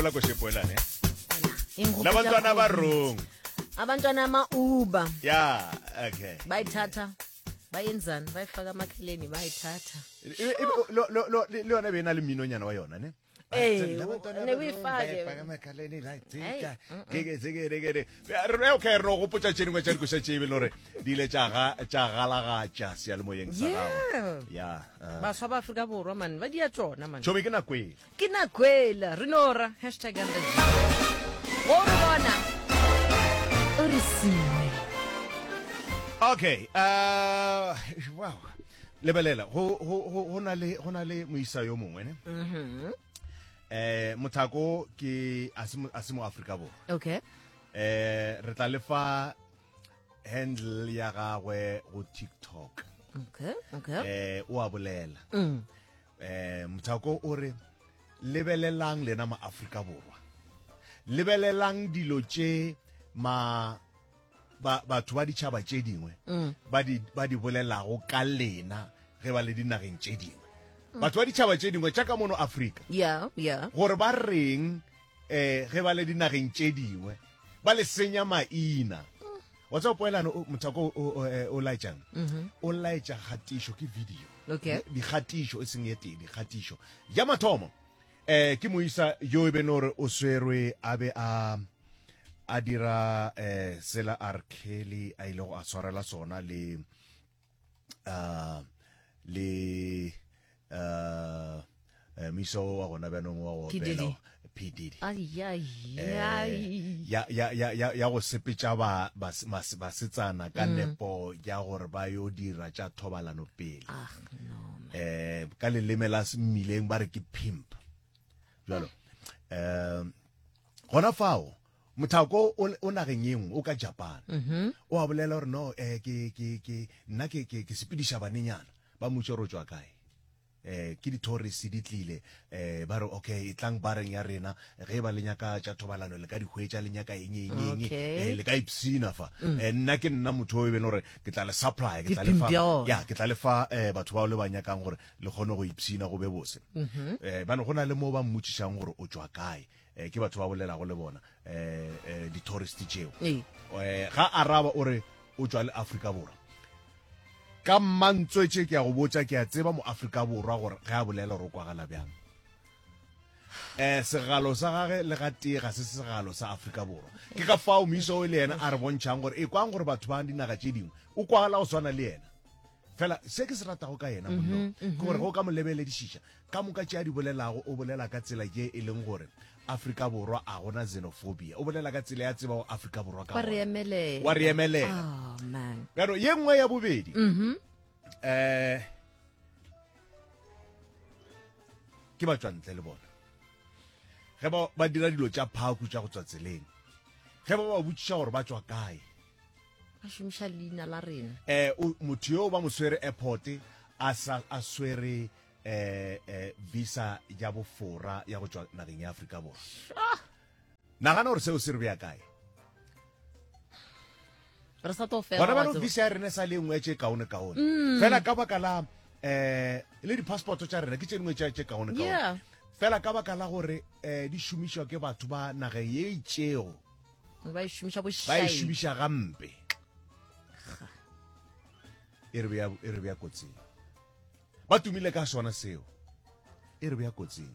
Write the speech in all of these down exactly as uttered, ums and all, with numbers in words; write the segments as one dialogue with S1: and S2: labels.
S1: La košepoelane la bantwana ba rong.
S2: Abantwana ama-Uber.
S1: Ya, okay.
S2: Bayithatha, bayenzani, bayifaka amakheleni, bayithatha.
S1: E- e- lo- lo- lo- le yona be e na le mminonyana wa yona ne.
S2: Ee,
S1: La bantwana
S2: ne
S1: ba rong,
S2: uyifake.
S1: ba ifaka amakhaleni, la
S2: Hey,
S1: tsika, ke- ke- ke- ke- ke- Re- okay, re no gopotša tše dingwe tša dikoša tše e be le gore di ile tša ga- tša galagatša seyalemoyeng sa gago.
S2: Yeah.
S1: Ya, ah.
S2: Baswa ba Afrika Borwa man, ba dia tšona man.
S1: Tšhomi ke nako e.
S2: Ke nakwela re no ra hashtag and the go re bona o re sile.
S1: Okay, uh, wow. Lebelela, go go go go na le go na le moisa yo mongwe ne.
S2: Mhm.
S1: Eh, mothako ke a se mo- a se mo Afrika Borwa.
S2: Okay.
S1: Eh, re tla lefa handle ya gagwe go TikTok.
S2: Okay, okay.
S1: Eh, o a bolela.
S2: Mm.
S1: Eh, mothako o re lebelelang lena ma Afrika Borwa. Lebelelang dilo tše ma ba batho ba ditšhaba tše dingwe
S2: Mm.
S1: ba di ba di bolelago ka lena ge ba le dinageng tše dingwe. Batho ba ditšhaba tše dingwe tša ka mono Afrika
S2: Yeah, yeah.
S1: gore ba reng eh ge ba le dinageng tše dingwe ba le senya maina. Wa tseba poelano o- mothako o- o eh, o laetšang, o laetša kgatišo ke video.
S2: Okay.
S1: Dikgatišo e seng ye tee, dikgatišo ya mathomo eh ke moisa yo e beno gore o swerwe a be a a dira eh sela R Kelly a ile go a tshwarela sona le uh le uh eh, moisa o wa gona bjanong wa go
S2: P. Diddy.
S1: opela P Diddy.
S2: Ai ai
S1: Eh,
S2: ai.
S1: ya ya ya ya ya go sepetša ba bas- mas- basetsana ka nepo ya gore ba yo dira tša thobalano pele.
S2: Ah, no.
S1: Eh, ka leleme la mmileng ba re ke pimp. Jalo eh gona fao mothako o o nageng ye nngwe o ka Japan. O a bolela gore no eh ke ke ke nna ke ke ke sepediša banenyana ba mmušo gore o tšwa kae. Eh ke di-tourist di tlile eh ba re okay e tlang bareng ya rena ge ba le nyaka tša thobalano le ka di hwetša le nyaka eng eng eng
S2: Okay.
S1: eh, le ka ipsina fa. Eh, nna ke nna motho o e beng gore ke tla le supply ke
S2: Ke
S1: tla le fa
S2: pimp ya ona.
S1: ya ke tla le fa eh, batho bao le ba nyakang gore le kgone go ipsina go be bose. Eh bano go na le mo ba mmotšišang gore o tšwa kae. Eh ke batho ba bolelago le bona eh eh, di-tourist tšeo.
S2: Ee.
S1: Eh ga araba o re o tšwa le Afrika Borwa. Ka mantswe tše ke a go botša ke a tseba mo Afrika Borwa gore ge a bolela gore o kwagala bjang. Eh segalo sa gage le ga tee ga se segalo sa Afrika Borwa. Ke ka fao moisa o le yena a re bontšhang gore e kwang gore batho ba dinaga tše dingwe o kwagala go swana le yena. Fela se ke se ratago ka yena monna ke gore ge o ka mo lebeledišiša ka moka tše a di bolelago o bolela ka tsela ye e leng gore Afrika Borwa a gona xenophobia. O bolela ka tsela ya tseba go Afrika Borwa ka
S2: Wa re
S1: gona.
S2: emelela.
S1: Wa re emelela.
S2: Oh man.
S1: Bjalo ye nngwe ya bobedi eh ke ba tšwa ntle le bona ge ba ba dira dilo tša phaku tša go tswa tseleng ge ba ba botšiša gore ba tšwa kae
S2: Ba šomiša leina la rena.
S1: eh o- motho yo ba mo swere airport a sa a swere eh eh visa ya bofora ya go tšwa nageng ya Afrika Borwa. Nagana gore seo se re bea kae.
S2: Re sa tlo fela.
S1: Gona
S2: wa
S1: bano
S2: tseba.
S1: visa ya rena e sa le e nngwe ya tše kaone kaone. Fela ka baka la eh le di-passport tša rena ke tše dingwe tša tše kaone kaone.
S2: Yeah.
S1: Fela ka baka la gore eh di šomišwa ke batho ba nageng ye itšego
S2: Ba e šomiša
S1: ba e
S2: bošaedi.
S1: šomiša gampe. E re bea e re bea kotsing. Ba tumile ka sona seo. E re bea kotsing.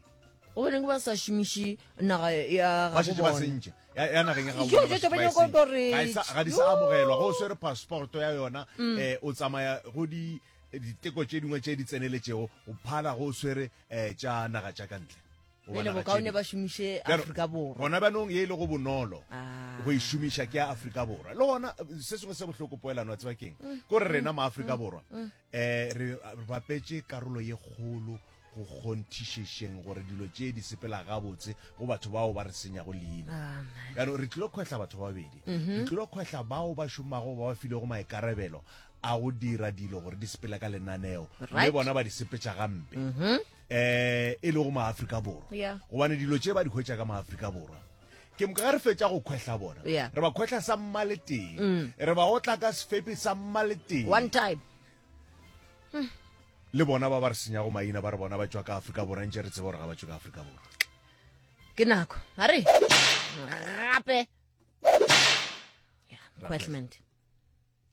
S2: O boneng ba sa šomiše naga ya
S1: Ba
S2: gabo
S1: šetše ba
S2: bona.
S1: sentše. Ya ya nageng ya gabo
S2: Jo,
S1: bona ba
S2: jo,
S1: šetše
S2: jo,
S1: ba
S2: ba
S1: e
S2: nyaka
S1: sentše.
S2: gore-
S1: Ga e sa- ga di sa amogelwa go o swere passport ya yona eh o tsamaya go di diteko tše dingwe tše di tseneletšego go phala go o swere eh tša naga tša ka ntle. Goba
S2: Pele
S1: naga tše
S2: bokaone
S1: dingwe.
S2: ba šomiše
S1: Bjalo,
S2: Afrika Borwa.
S1: Gona bjanong ye e le go bonolo
S2: Ah.
S1: go e šomiša ke ya Afrika Borwa. Le gona se sengwe se bohloko poelano wa tseba keng? Ke gore rena ma Afrika Borwa eh re re bapetše karolo ye kgolo go kgonthišešeng gore dilo tše di sepela gabotse go batho bao ba re senyago leina.
S2: Ah, man.
S1: Bjalo re tlilo kgwehla batho ba babedi. Re tlilo kgwehla bao ba šomago ba ba filego maikarabelo a go dira dilo gore di sepele ka lenaneo mme
S2: Right.
S1: bona ba di sepetša gampe. Eh e lego maAfrika Borwa.
S2: Yeah.
S1: Gobane dilo tše ba di hwetša ka maAfrika Borwa. Ke moka ge re fetša go kgwehla bona.
S2: Yeah.
S1: Re ba kgwehla sa mmaleteng. Re ba otla ka sefepi sa mmaleteng.
S2: One time.
S1: Le bona ba ba re senyago maina ba re bona ba tšwa ka Afrika Borwa ntše re tseba gore ga ba tšwe ka Afrika Borwa.
S2: Ke nako. A re gape. Yeah, Quetlement.